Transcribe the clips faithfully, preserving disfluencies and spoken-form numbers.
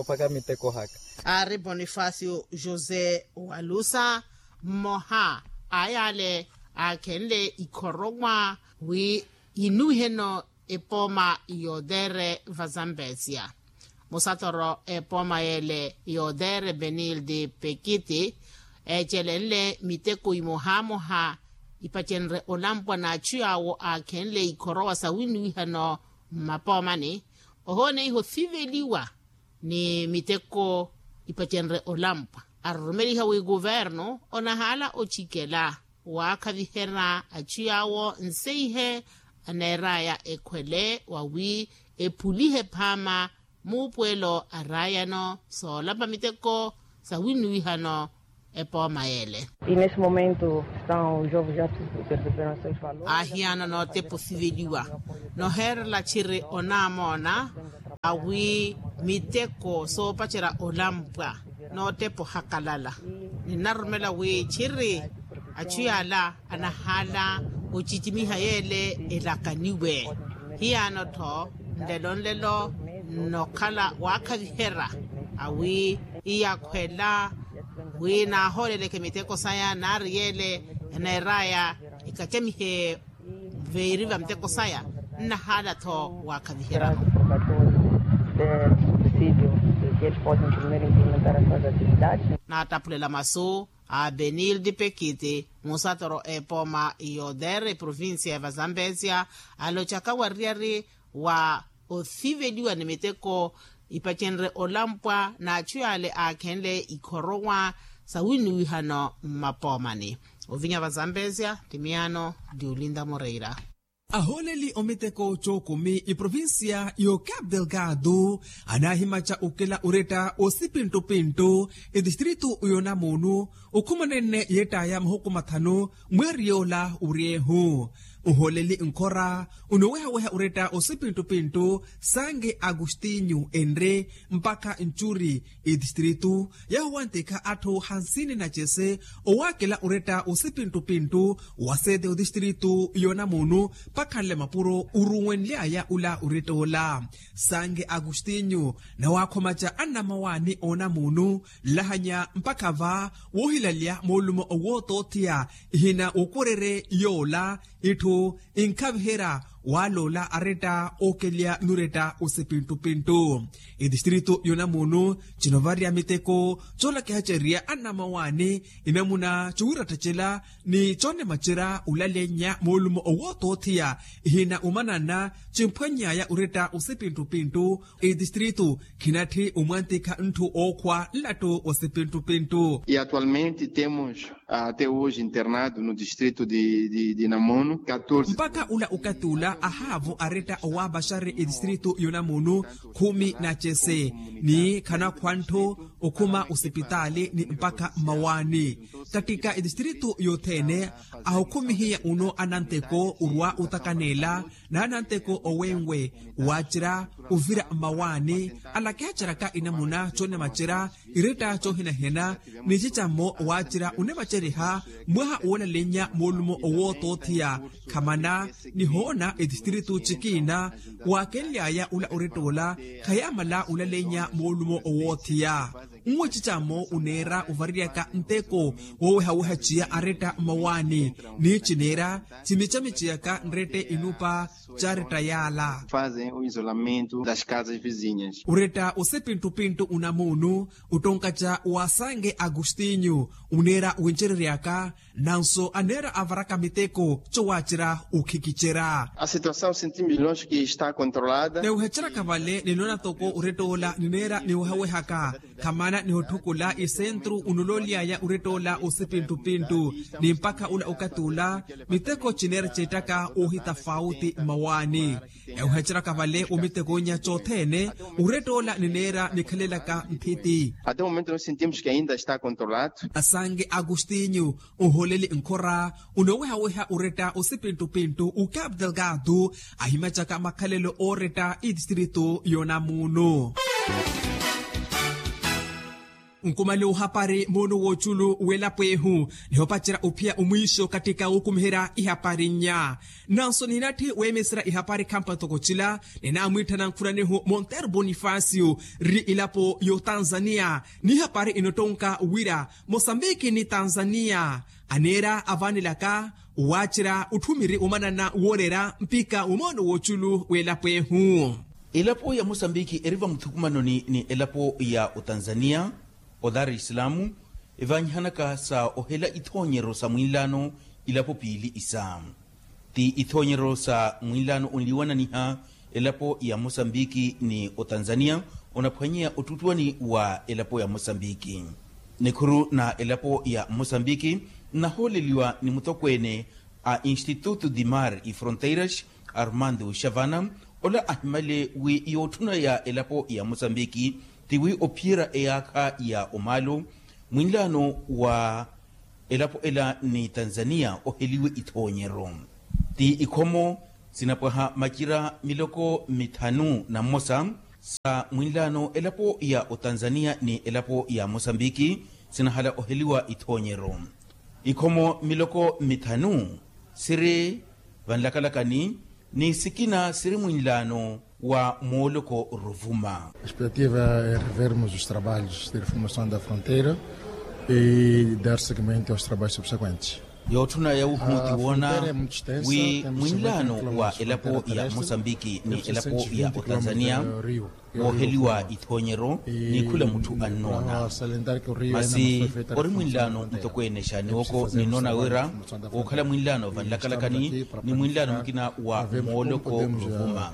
Ophaka miteko haka. Aari bonifacio josé walusa mmoha a yaale aakhenle ikhorowa wi inuwiheno epooma yootere vazambesia. Musatoro epooma yeele yootere benilde pekiti eecelenle miteko imohamoha ipacenre olampwa n'achu yaawo aakhenle ikhorowa sawinuwihano mmapoomani ohooneiha othiveliwa ni miteko ipacenre olampwa aroromeliha wi kuvernu onahaala ocikela waakhaviherya achu yaawo nseihe aneeraya ekhwele wawi ephulihe phaama muupuwelo a raayano soolapa miteko sawinuwihano epooma yeele. Aahiyana nootepa osiveliwa noheerela txiri onaamoona awi miteko soopacerya olampwa nootepa ohakalala. Ninaroromela wi txiri achu yaala anahaala ocicimiha yeele elakaniwe. Hiyaano-tho nlelo nlelo nnokhala waakhaviherya awi iyakhwela wi naahooleleke miteko saya naari yeele eneeraya ekacamihe veeri va miteko saya nnahaala-tho waakhaviherya. Naataphulela masu a benilde pekiti musatoro epooma yotere provincia ya vazambesia alocaka wariyari wa othiveliwa ni miteko ipacenre olampwa n'achu yaale aakhenle ikhorowa sawinuwihano mmapoomani. Ovinya vazambesia ti miyaano ti olinda moreira. Ahooleli omiteko cookumi iprovincia yo cap delgado anaahimaca okela oretta osipintupintu etistritu yonamuunu okhumanene yettaya mahuku mathanu mweeri yoola oryeehu. Ohooleli nkhora onoowehaweha oretta osipintupintu sange agostinho enre mpakha ncuri etistritu yahuwantikha atthu hansini na cese owaakela oretta osipintupintu wa sete otistritu yonamuunu pakhanle mapuro oruwenly'aya ola oretta ola. Sange agostinho nawaakhomaca annamawaani oonamuunu nlahanya mpakha va woohilalya moolumo owootootheya ihina wokorerye yoola itthu inkhaviherya waaloola aretta ookelya nuretta osipintupintu. Etistritu yonamuunu cinovariya miteko coolakihacerya annamawaani inamuna cowiirattacela ni coonemacerya olalennya moolumo owootootheya ihina omanana cimphwanny'aya oretta osipintupintu. Etistritu khinatthi omwantikha ntthu ookhwa nlattu osipintupintu. E atualmente temos até hoje internado no distrito de namuno mpakha ula okathi ula ahaavo aretta owaapaxari etistritu yonamuno khumi na cese ni khanakhwa ntthu okhuma osipitaali ni mpakha mmawaani. Kattika etistritu yothene ahukhumihiya uno ananteko orwa otakaneela n'ananteko owenwe waacerya ovira mmawaani alakihaceraka inamuna coonemacerya iretta coohinahina ni cicammo waacerya onemaceriha mwaha woolalennya moolumo owootootheya. Khamana nihoona etistritu cikiina waakenly'aya ola oretta ola khayaamala olalennya moolumo owoothiya. Nwe cicammo oneera ovareryaka nteko woowehaweha ciya aretta mmawaani ni cineera cimicamiciyaka nrette inupa caretta yaala. Fazem o isolamento das casas vizinhas. Oretta osipintupintu onamuunu ottonkaca wa sange agostinho oneera wincereryaka nanso aneera avaraka miteko cowaacerya okhikicerya. A situação sentimos longe que está controlada. Neeweheceraka vale ninoona toko oretta ola nineera niwehawehaka khamana nihotthukhula isentru onololy'aya oretta ola osipintupintu ni mpakha ula okathi ula miteko cineera ceettaka oohitafauti mmawaani. Eweheceraka vale omitekoonya cothene oretta ola nineera nikhalelaka nthiti. Até o momento nós sentimos que ainda está controlado. Asange agostinho ohooleli nkhora onoowehaweha oretta osipintupintu o cap delgado ahimacaka makhalelo ooretta etistritu yonamuno. Nkumale ohapari moono w'oculu w'elapo ehu nihopacerya ophiya omwiixo kattika wukumiherya ihapari nnya. Nanso nihinatthi weemeserya ihapari khampa ntoko cila, ninaamwiitthana nkhuna nehu monteiro bonifasio ri elapo y'otanzania. N'ihapari inottonka wira mosambiki ni tanzania aneera avanelaka owaacerya otthumiri omanana wooreera mpikha wa moono w'oculu w'elapo ehu. Elapo ya mosambiki eri vamuthukumanoni ni elapo ya otanzania, odar islamu evanyihanaka sa ohela ithoonyeryo sa mwinlaano ilapo piili isa. Ti ithoonyeryo sa mwinlaano onliwananiha elapo ya mosambiki ni otanzania onaphwanyeya ottuttuwani wa elapo ya mosambiki. Nikhuru na elapo ya mosambiki nnahooleliwa ni mutokweene a institutu dimar e fronteiras, armando xavana, ola ahimale wi yootthuna ya elapo ya mosambiki ti wi ophiyerya eyaakha ya omaalo mwinlaano wa elapo ela ni tanzania oheliwe ithoonyeryo. Ti ikhomo sinapwaha macira miloko mithanu na mmosa sa mwinlaano elapo ya otanzania ni elapo ya mosambiki sinahala oheliwa ithoonyeryo. Ikhomo miloko mithanu siri vanlakalakani ni sikina siri mwinlaano wa mooloko ruvuma. Expectativa é revermos os trabalhos de reformação da fronteira e dar seguimento aos trabalhos subsequentes. Yootthuna yawuhu ti woona wi mwinlaano wa elapo ya mosambiki ni elapo ya otanzania wooheliwa ithoonyeryo ni khula mutthu annoona. Masi ori mwinlaano mutokweene xa niwoko ninnoona wira wookhala mwinlaano vanlakalakani ni mwinlaano mukina wa mooloko ruvuma.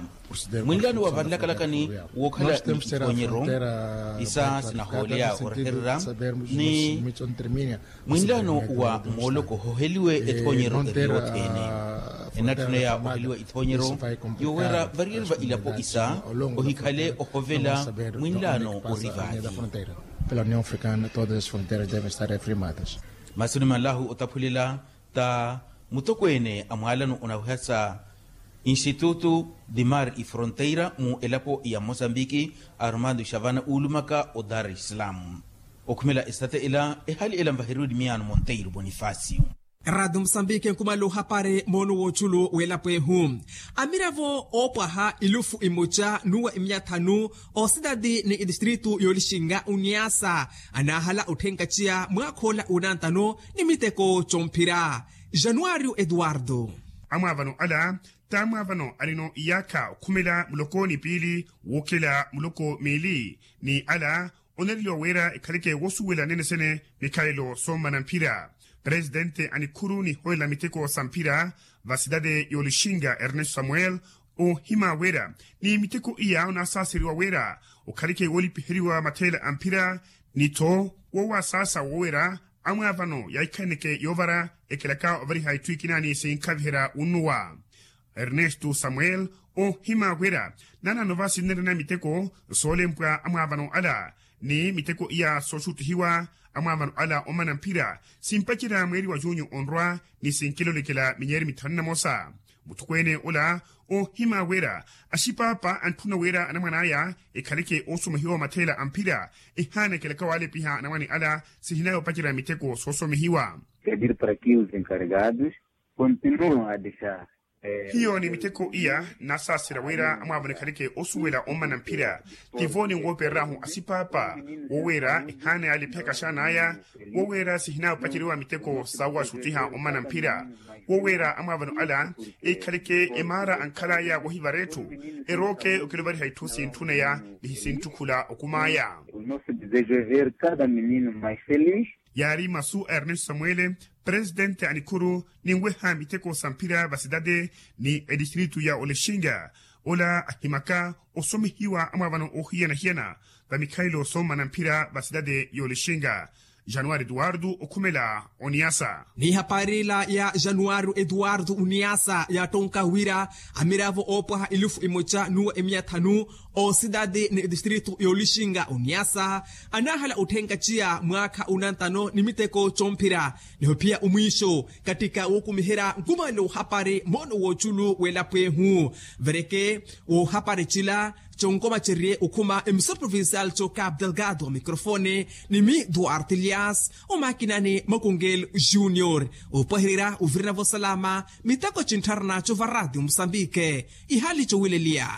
Mwinlaano wa vanlakalakani wookhala ni ithoonyeryo isa sinahooleya orehererya ni mwinlaano wa mooloko hoheliwe ethoonyeryo eri yothene. Enatthuna ya oheliwa ithoonyeryo yoweera variyeri va ilapo isa ohikhale ohovela mwinlaano ori vaali. Pela união africana todas as fronteiras devem estar afirmadas. Masi onimanlahu otaphulela ta mutokweene a mwaalano onaweha sa institutu dimar e fronteira mu elapo ya mosambiki, armando xavana uulumaka o dar es salaam. Okhumela estate ela ehali ela nvaheriwe ni miyaano monteiro bonifacio. Eradio mosambiki enkumala ohapari moono w'oculu w'elapo ehu. Amiravo oopwaha ilufu imoca nuwa imiya thanu, ositati ni etistritu y'olixinga oniasa anaahala otthenkaciya mwaakha ola onantano ni miteko comphira. Januario eduardo. Amwaavano ala t'amwaavano arino iyaakha okhumela muloko ni piili wuukhela muloko miili ni ala onereliwa wira ekhaleke woosuwela nene-sene mikhalelo soomana mphira. Presidente a nikhuru nihowelela miteko sa mphira va sitati y'olixinga ernesto samuel oohima wira ni miteko iya onaasaaseriwa wira okhaleke woolipiheriwa matheela a mphira ni-tho woowasaasa wowira amwaavano yaahikhaneke yoovara ekhelaka ovariha itthu ikina ni sinkhaviherya wunnuwa. Ernesto samuel oohima wira naanaano va sinnerena miteko soolempwa amwaavano ala ni miteko iya sooxuttihiwa amwaavano ala omana mphira simpacerya mweeri wa junyu onrwa ni sinkilolekela minyeeri mithanu na mosa. Muthukweene ola oohima wira axipaapa antthuna wira anamwane aya ekhaleke oosomehiwa matheela a mphira ehaanekelaka waalepiha anamwane ala sihinaya opacerya miteko soosomehiwa. Pedir para que os encarregados continuam a deixar. Hiyo ni miteko iya nnaasaaserya wira amwaavano ekhaleke osuwela ommana mphira tivo ni woopereryahu asipaapa wowira ehaana yaalepiha kaxaana aya wowira sihinaya opaceriwa miteko sawaxuttiha ommana mphira wowira amwaavano ala ekhaleke emaara ankhalaya wohivara etthu erooke okiluvariha itthu sintthuneya ni hisinttukhula okumaya. Yaari masu a ernesto samuele presidente a nikhuru ninweha miteko sa mphira va sitati ni etistritu ya olexinga ola ahimaka osomehiwa amwaavano oohiyana-hiyana va mikhalelo soomana mphira va sitati y'olexinga. Januari eduardo okhumela oniasa. Ni hapari ila ya januari eduardo oniasa yaattonka wira amiravo oopwaha elufu emoca nuwa emiya thanu Osidadi ni distrito y'olixinga oniasa anaahala otthenkaciya mwaakha unantano ni miteko comphira niho phiya omwiixo kattika wookumiherya nkumale ohapari moono w'oculu w'elapo ehu. Vereke ohapari cila conkomacerye okhuma emisoro provincial co cap delgado microfone ni mi duarte lias omakinani makungel junior opwahererya ovirina vosalama miteko cinttharana cova radio musambike. Ihali cowileliya.